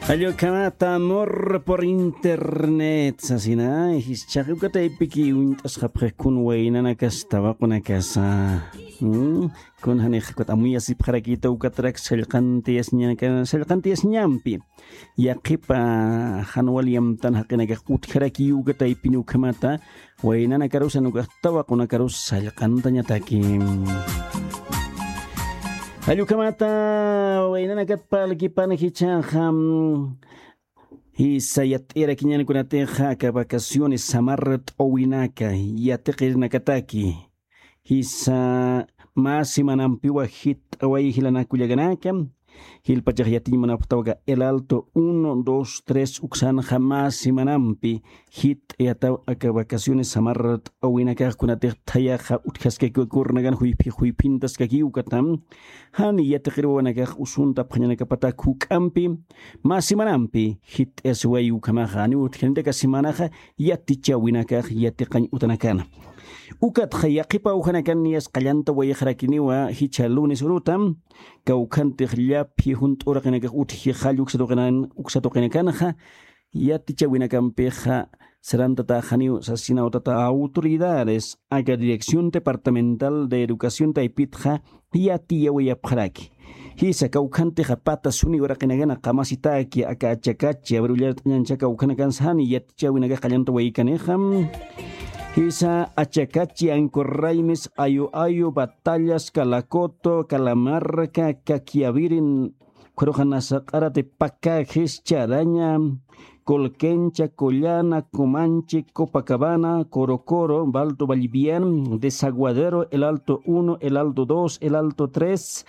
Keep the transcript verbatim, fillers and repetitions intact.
Allukhamata amor por internet sasina, jischaq ukataypiki uñt'asqapxi kun waynanakas tawaqunakasa. Mm, kun janix ukat amuyasipxarakita ukatarak sallqantiyasiñanaka sallqantiyasiñampi, yaqhipa jan wal yamtan jaqinakax utjarakiyu ukataypini ukhamata waynanakarusa nukax tawaqunakarus sallqantañataki. Allukhamata waynanakat parlkipan jichhaxa, jisa yatt'irakiñankunatixa aka vacaciones samar t'owinaka yatiqirinakataki, jisa mä semanampiwa jit'away jilanak kullakanaka. Jilpachax yatiñ munapxtaw aka el alto uno dos tres uksanxa mä semanampi jit'ayataw aka vacaciones samar t'owinakax kunatix thayaxa utjaskakiwa kurnakan juyphi juyphintaskakiw ukatam. Jan yatiqiriwanakax usuntapxañanakapatak juk'ampi mä semanampi jit'ayasiwayi ukhamaxa janiw utjanitaka semanaxa yatichawinakax yatiqañ utanakana. Ukatxa yaqhipa awjanakan niyas qallanta wayixarakiniwa jichha lunes urutam kawkhantix llaphi junt'u uraqinakax utji jall uksatuqinakanxa yatichawinakampixa sarantataxaniw sasinawtata autoridades aka dirección departamental de educación taypitxa yatiyawayapxaraki. Jisa kawkhantixa pata suni uraqinakana qamasitaki aka achakachi abrullart'añancha kawkhanakansa jani yatichawinakax qallanta waykanixa. Jisa achakachi ankurraymis ayu ayu batallas kalakoto kalamarka kakyavirin, khuruxanasaq'arati pakajis charaña, colquencha collana comanche copacabana corocoro balto ballivian, desaguadero el alto uno el alto dos el alto tres,